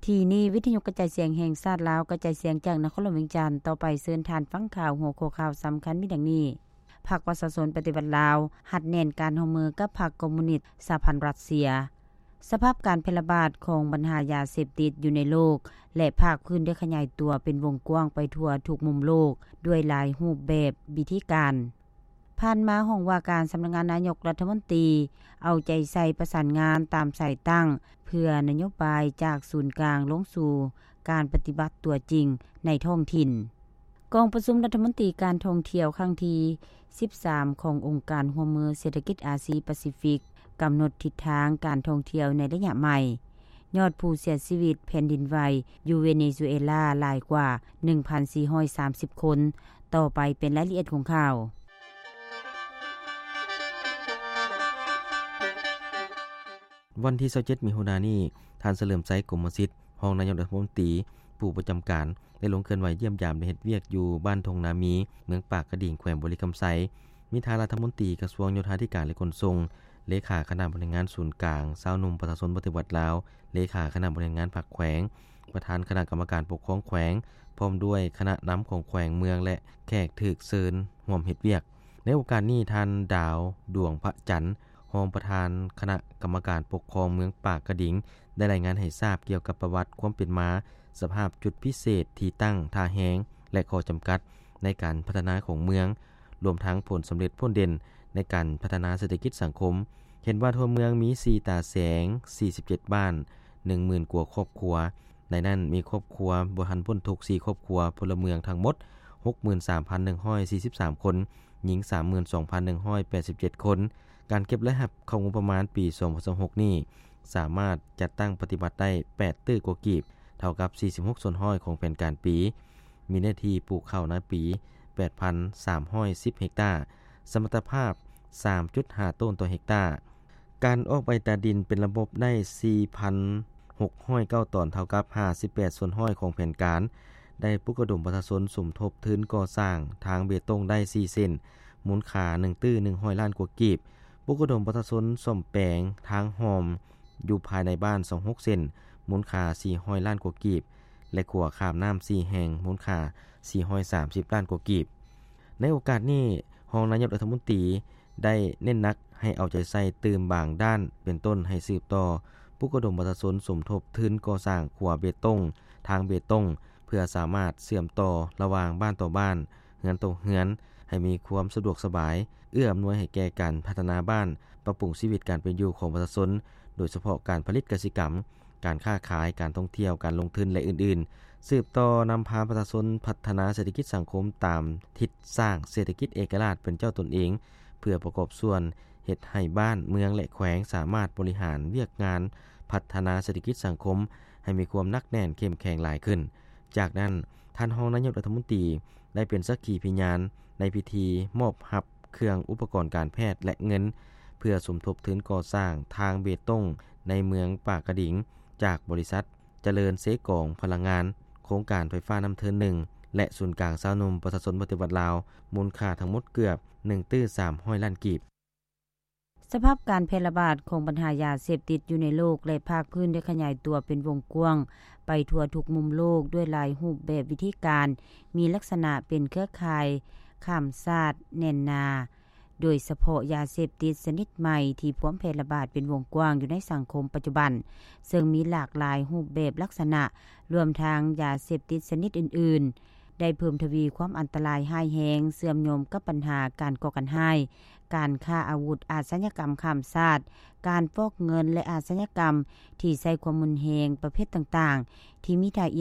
ທີ່ນີ້ ວິທະຍຸກະຈາຍສຽງແຫ່ງຊາດລາວ ກະຈາຍສຽງຈາກນະຄອນຫຼວງວຽງຈັນ. ຕໍ່ໄປເຊີນທ່ານຟັງຂ່າວ. ຫົວຂໍ້ຂ່າວສຳຄັນມີດັ່ງນີ້: ພັກປະຊາຊົນປະຕິວັດລາວ ຮັດແໜ້ນການຮ່ວມມືກັບພັກຄອມມູນິດສະຫະພັນຣັດເຊຍ. ສະພາບການແຜ່ລະບາດຂອງບັນຫາຢາເສບຕິດຢູ່ໃນໂລກ ແລະ ພາກພື້ນໄດ້ຂະຫຍາຍຕົວເປັນວົງກວ້າງໄປທົ່ວທຸກມຸມໂລກ ດ້ວຍຫຼາຍຮູບແບບວິທີການ. ຜ່ານມາ ຫ້ອງວ່າການສຳນັກງານນາຍົກລັດຖະມົນຕີ ເອົາໃຈໃສ່ປະສານງານຕາມສາຍຕັ້ງ ເພື່ອນະໂຍບາຍຈາກສູນກາງລົງສູ່ການປະຕິບັດຕົວຈິງໃນທ້ອງຖິ່ນ. ກອງປະຊຸມລັດຖະມົນຕີການທ່ອງທ່ຽວຄັ້ງທີສິບສາມ ຂອງອົງການຮ່ວມມືເສດຖະກິດອາຊີປາຊີຟິກ ກຳນົດທິດທາງການທ່ອງທ່ຽວໃນໄລຍະໃໝ່. ຍອດຜູ້ເສຍຊີວິດແຜ່ນດິນໄຫວຢູ່ເວເນຊູເອລາຫຼາຍກວ່າໜຶ່ງພັນສີ່ຮ້ອຍສາມສິບຄົນ. ຕໍ່ໄປເປັນລາຍລະອຽດຂອງຂ່າວ. ວັນທີຊາວເຈັດ ມິຖຸນານີ້, ທ່ານ ສະເຫຼີມໄຊ ກົມມະສິດ ຮອງນາຍົກລັດຖະມົນຕີ ຜູ້ປະຈຳການ ໄດ້ລົງເຄື່ອນໄຫວຢ້ຽມຢາມ ແລະ ເຮັດວຽກຢູ່ບ້ານທົ່ງນາມີ, ເມືອງປາກກະດິງ, ແຂວງບໍລິຄຳໄຊ. ມີທ່ານລັດຖະມົນຕີກະຊວງໂຍທາທິການ ແລະ ຂົນສົ່ງ, ເລຂາຄະນະບໍລິຫານງານສູນກາງຊາວໜຸ່ມປະຊາຊົນປະຕິວັດລາວ, ເລຂາຄະນະບໍລິຫານງານພັກແຂວງ, ປະທານຄະນະກຳມະການປົກຄອງແຂວງ, ພ້ອມດ້ວຍຄະນະນຳຂອງແຂວງເມືອງ ແລະ ແຂກຖືກເຊີນຮ່ວມເຮັດວຽກ. ໃນໂອກາດນີ້, ທ່ານ ດາວ ດວງພະຈັນ ຮອງປະທານຄະນະກຳມະການປົກຄອງເມືອງປາກກະດິງ ໄດ້ລາຍງານໃຫ້ຊາບກ່ຽວກັບປະຫວັດຄວາມເປັນມາ, ສະພາບຈຸດພິເສດ, ທີ່ຕັ້ງ, ທ່າແຮງ ແລະ ຂໍ້ຈຳກັດໃນການພັດທະນາຂອງເມືອງ, ລວມທັງຜົນສຳເລັດຜົນເດັ່ນໃນການພັດທະນາເສດຖະກິດສັງຄົມ. ເຫັນວ່າທົ່ວເມືອງມີສີ່ຕາແສງ, ສີ່ສິບເຈັດບ້ານ, ໜຶ່ງໝື່ນກວ່າຄອບຄົວ. ໃນນັ້ນມີຄອບຄົວບໍ່ທັນພົ້ນທຸກສີ່ຄອບຄົວ, ພົນລະເມືອງທັງໝົດຫົກໝື່ນສາມພັນໜຶ່ງຮ້ອຍສີ່ສິບສາມຄົນ, ຍິງສາມໝື່ນສອງພັນໜຶ່ງຮ້ອຍແປດສິບເຈັດຄົນ. ການເກັບລາຍຮັບເຂົ້າງົບປະມານປີສອງພັນຊາວຫົກນີ້ ສາມາດຈັດຕັ້ງປະຕິບັດໄດ້ແປດຕື້ກວ່າກີບ, ເທົ່າກັບສີ່ສິບຫົກສ່ວນຮ້ອຍຂອງແຜນການປີ. ມີເນື້ອທີ່ປູກເຂົ້ານາປີແປດພັນສາມຮ້ອຍສິບເຮັກຕາ, ສະມັດຕະພາບສາມຈຸດຫ້າໂຕນຕໍ່ເຮັກຕາ. ການອອກໃບຕາດິນເປັນລະບົບໄດ້ສີ່ພັນຫົກຮ້ອຍເກົ້າຕອນ, ເທົ່າກັບຫ້າສິບແປດສ່ວນຮ້ອຍຂອງແຜນການ. ໄດ້ປຸກລະດົມປະຊາຊົນສົມທົບທຶນກໍ່ສ້າງທາງເບຕົງໄດ້ສີ່ເສັ້ນ, ມູນຄ່າໜຶ່ງຕື້ໜຶ່ງຮ້ອຍລ້ານກວ່າກີບ. ປຸກລະດົມປະຊາຊົນສ້ອມແປງທາງຮ່ອມຢູ່ພາຍໃນບ້ານຊາວຫົກເສັ້ນ, ມູນຄ່າສີ່ຮ້ອຍລ້ານກວ່າກີບ ແລະ ຂົວຂ້າມນ້ຳສີ່ແຫ່ງ, ມູນຄ່າສີ່ຮ້ອຍສາມສິບລ້ານກວ່າກີບ. ໃນໂອກາດນີ້, ຮອງນາຍົກລັດຖະມົນຕີ ໄດ້ເນັ້ນໜັກໃຫ້ເອົາໃຈໃສ່ຕື່ມບາງດ້ານ ເປັນຕົ້ນໃຫ້ສືບຕໍ່ປຸກລະດົມປະຊາຊົນສົມທົບທຶນກໍ່ສ້າງຂົວເບຕົງ, ທາງເບຕົງ ເພື່ອສາມາດເຊື່ອມຕໍ່ລະຫວ່າງບ້ານຕໍ່ບ້ານ, ເຮືອນຕໍ່ເຮືອນ ໃຫ້ມີຄວາມສະດວກສະບາຍ, ເອື້ອອຳນວຍໃຫ້ແກ່ການພັດທະນາບ້ານ, ປັບປຸງຊີວິດການເປັນຢູ່ຂອງປະຊາຊົນ, ໂດຍສະເພາະການຜະລິດກະສິກຳ, ການຄ້າຂາຍ, ການທ່ອງທ່ຽວ, ການລົງທຶນ ແລະ ອື່ນໆ. ສືບຕໍ່ນຳພາປະຊາຊົນພັດທະນາເສດຖະກິດສັງຄົມຕາມທິດສ້າງເສດຖະກິດເອກະລາດເປັນເຈົ້າຕົນເອງ, ເພື່ອປະກອບສ່ວນເຮັດໃຫ້ບ້ານ, ເມືອງ ແລະ ແຂວງສາມາດບໍລິຫານວຽກງານພັດທະນາເສດຖະກິດສັງຄົມໃຫ້ມີຄວາມໜັກແໜ້ນເຂັ້ມແຂງຫຼາຍຂຶ້ນ. ຈາກນັ້ນ, ທ່ານຮອງນາຍົກລັດຖະມົນຕີ ໄດ້ເປັນສັກຂີພະຍານໃນພິທີມອບຮັບເຄື່ອງອຸປະກອນການແພດ ແລະ ເງິນ ເພື່ອສົມທົບທຶນກໍ່ສ້າງທາງເບຕົງໃນເມືອງປາກກະດິງ ຈາກບໍລິສັດຈະເລີນເຊກອງພະລັງງານ, ໂຄງການໄຟຟ້ານ້ຳເທີນໜຶ່ງ ແລະ ສູນກາງຊາວໜຸ່ມປະຊາຊົນປະຕິວັດລາວ, ມູນຄ່າທັງໝົດເກືອບໜຶ່ງຕື້ສາມຮ້ອຍລ້ານກີບ. ສະພາບການແຜ່ລະບາດຂອງບັນຫາຢາເສບຕິດຢູ່ໃນໂລກ ແລະ ພາກພື້ນໄດ້ຂະຫຍາຍຕົວເປັນວົງກວ້າງໄປທົ່ວທຸກມຸມໂລກ ດ້ວຍຫຼາຍຮູບແບບວິທີການ, ມີລັກສະນະເປັນເຄືອຂ່າຍຂ້າມຊາດແໜ້ນໜາ, ໂດຍສະເພາະຢາເສບຕິດຊະນິດໃໝ່ທີ່ພວມແຜ່ລະບາດເປັນວົງກວ້າງຢູ່ໃນສັງຄົມປັດຈຸບັນ, ເຊິ່ງມີຫຼາກຫຼາຍຮູບແບບລັກສະນະ, ລວມທັງຢາເສບຕິດຊະນິດອື່ນໆ ໄດ້ເພີ່ມທະວີຄວາມອັນຕະລາຍຮ້າຍແຮງ, ເຊື່ອມໂຍງກັບບັນຫາການກໍ່ການຮ້າຍ, ການຄ້າອາວຸດ, ອາຊະຍາກຳຂ້າມຊາດ, ການຟອກເງິນ ແລະ ອາຊະຍາກຳທີ່ໃຊ້ຄວາມຮຸນແຮງປະເພດຕ່າງໆ ທີ່ມີທ່າ